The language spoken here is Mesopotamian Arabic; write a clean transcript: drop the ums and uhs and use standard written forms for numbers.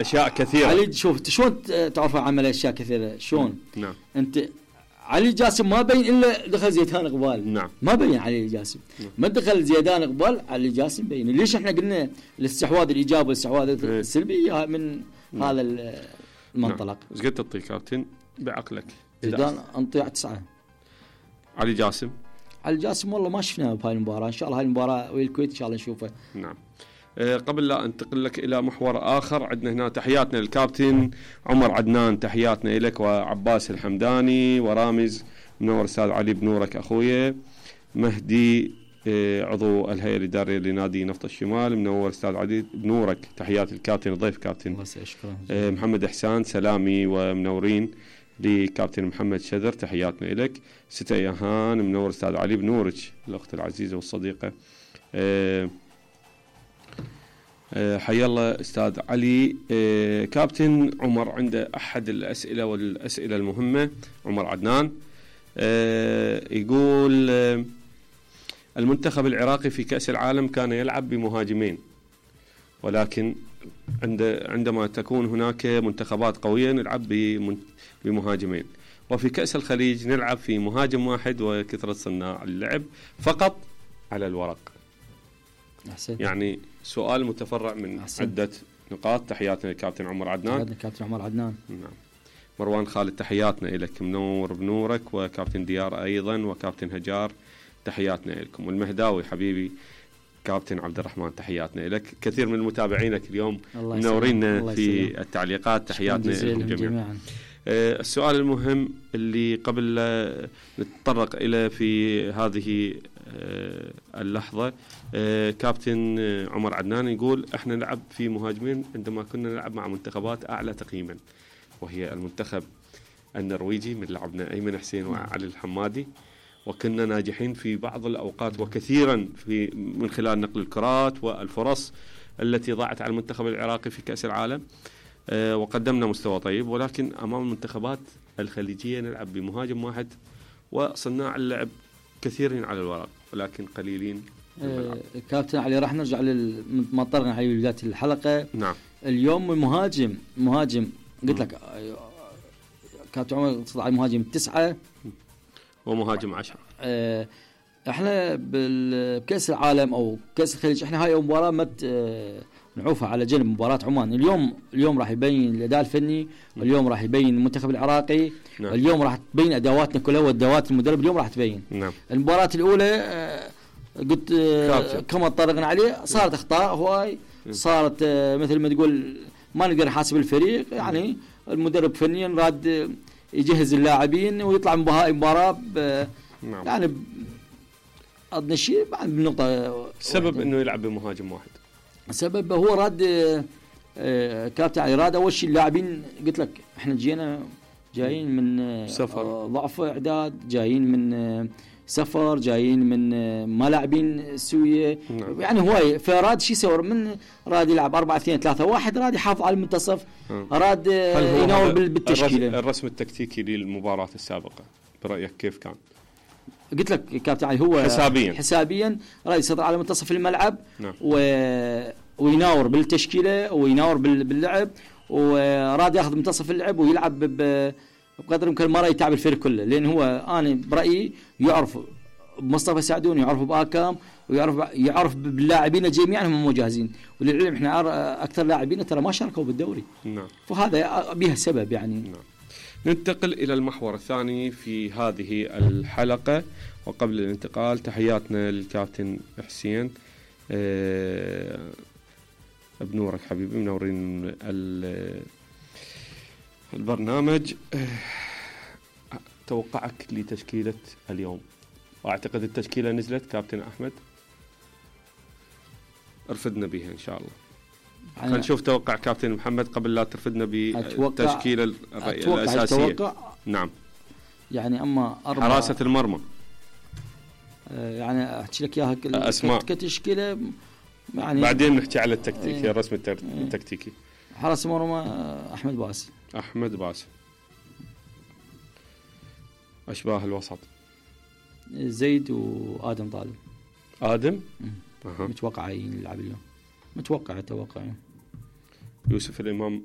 اشياء كثيره. علي شوف شلون تعرف عمل اشياء كثيره شلون. نعم. انت علي جاسم ما بين الا دخل زيدان قبال. نعم. ما بين علي جاسم. ما دخل زيدان قبال علي جاسم بين. ليش احنا قلنا الاستحواذ الايجابي والاستحواذ السلبي من هذا المنطلق. ايش قد تعطي كابتن بعقلك؟ زيدان انطي 9. علي جاسم والله ما شفناه بهاي المباراه. ان شاء الله هاي المباراه ويا الكويت ان شاء الله نشوفه. نعم. قبل لا انتقل لك الى محور اخر، عندنا هنا تحياتنا للكابتن عمر عدنان، تحياتنا لك، وعباس الحمداني، ورامز منور استاذ علي بنورك اخويا، مهدي عضو الهيئه الاداريه لنادي نفط الشمال، منور استاذ علي بنورك، تحيات الكابتن الضيف كابتن. محمد احسان سلامي ومنورين لكابتن محمد شذر، تحياتنا لك. ستة يهان منور استاذ علي بنورك، الاخت العزيزه والصديقه. حيا الله استاذ علي. كابتن عمر عنده احد الاسئله والاسئله المهمه، عمر عدنان يقول المنتخب العراقي في كأس العالم كان يلعب بمهاجمين، ولكن عندما تكون هناك منتخبات قويه نلعب بمهاجمين، وفي كأس الخليج نلعب في مهاجم واحد وكثرة صناع اللعب فقط على الورق. أحسنت. يعني سؤال متفرع من عدة نقاط. تحياتنا للكابتن عمر عدنان. كابتن عمر عدنان. نعم. مروان خالد تحياتنا لك، منور بنورك، وكابتن ديار أيضا، وكابتن هجار تحياتنا لكم، والمهداوي حبيبي كابتن عبد الرحمن تحياتنا لك. كثير من متابعينك اليوم منورين في التعليقات، تحياتنا لكم جميعا. السؤال المهم اللي قبل نتطرق إلى في هذه اللحظة، كابتن عمر عدنان يقول احنا نلعب في مهاجمين عندما كنا نلعب مع منتخبات أعلى تقييما، وهي المنتخب النرويجي من لعبنا أيمن حسين وعلي الحمادي، وكنا ناجحين في بعض الأوقات وكثيرا من خلال نقل الكرات والفرص التي ضاعت على المنتخب العراقي في كأس العالم، وقدمنا مستوى طيب، ولكن أمام المنتخبات الخليجية نلعب بمهاجم واحد وصناع اللعب كثيرين على الورق ولكن قليلين. كابتن علي راح نرجع ما طرقنا عليه بداية الحلقة. نعم. اليوم مهاجم قلت لك كابتن عمر صدع المهاجم 9 ومهاجم 10. احنا بكأس العالم او كأس الخليج احنا هاي مباراة نعوفها على جنب مباراة عمان. اليوم راح يبين الاداء الفني، واليوم راح يبين المنتخب العراقي. نعم. اليوم راح تبين ادواتنا كلها وادوات المدرب اليوم راح تبين. نعم. المباراة الاولى قلت كما طرقنا عليه صارت اخطاء هواي، صارت مثل ما تقول ما نقدر نحاسب الفريق، يعني المدرب فنيا راد يجهز اللاعبين ويطلع مباراة نعم. يعني أضن شيء بنقطة. السبب انه يلعب بمهاجم واحد، السبب هو راد كابتن علي راد اول شيء اللاعبين قلت لك احنا جايين من سفر، ضعف اعداد، جايين من سفر، جايين من ما لاعبين سويه. نعم. يعني هواي فراد شيء يسوي من راد يلعب 4-2-3-1، راد يحافظ على المنتصف، راد ينور بالتشكيله. الرسم التكتيكي للمباراة السابقة برأيك كيف كان؟ قلت لك كابتن علي هو حسابيا راد يسيطر على منتصف الملعب. نعم. ويناور بالتشكيله ويناور باللعب، وراد ياخذ منتصف اللعب ويلعب بقدر الامكان ما راح يتعب الفريق كله، لان هو انا برايي يعرف بمصطفى سعدون، يعرف باكام، ويعرف باللاعبين جميعا هم مو جاهزين، وللعلم احنا اكثر لاعبين ترى ما شاركوا بالدوري. نعم. فهذا بها سبب يعني. نعم. ننتقل الى المحور الثاني في هذه الحلقه، وقبل الانتقال تحياتنا للكابتن حسين بنورك حبيبي، منورين البرنامج. توقعك لتشكيلة اليوم؟ واعتقد التشكيلة نزلت كابتن أحمد، ارفدنا بها إن شاء الله. خلينا نشوف توقع كابتن محمد قبل لا ترفدنا بالتشكيلة الأساسية. نعم. يعني أما حراسة المرمى يعني أحكي لك إياها أسماء كتشكيلة يعني، بعدين نحكي على التكتيكي الرسم التكتيكي. حراس المرمى أحمد باسل. أشباه الوسط زيد وآدم طالب. آدم متوقع يلعب اليوم، متوقع يوسف الإمام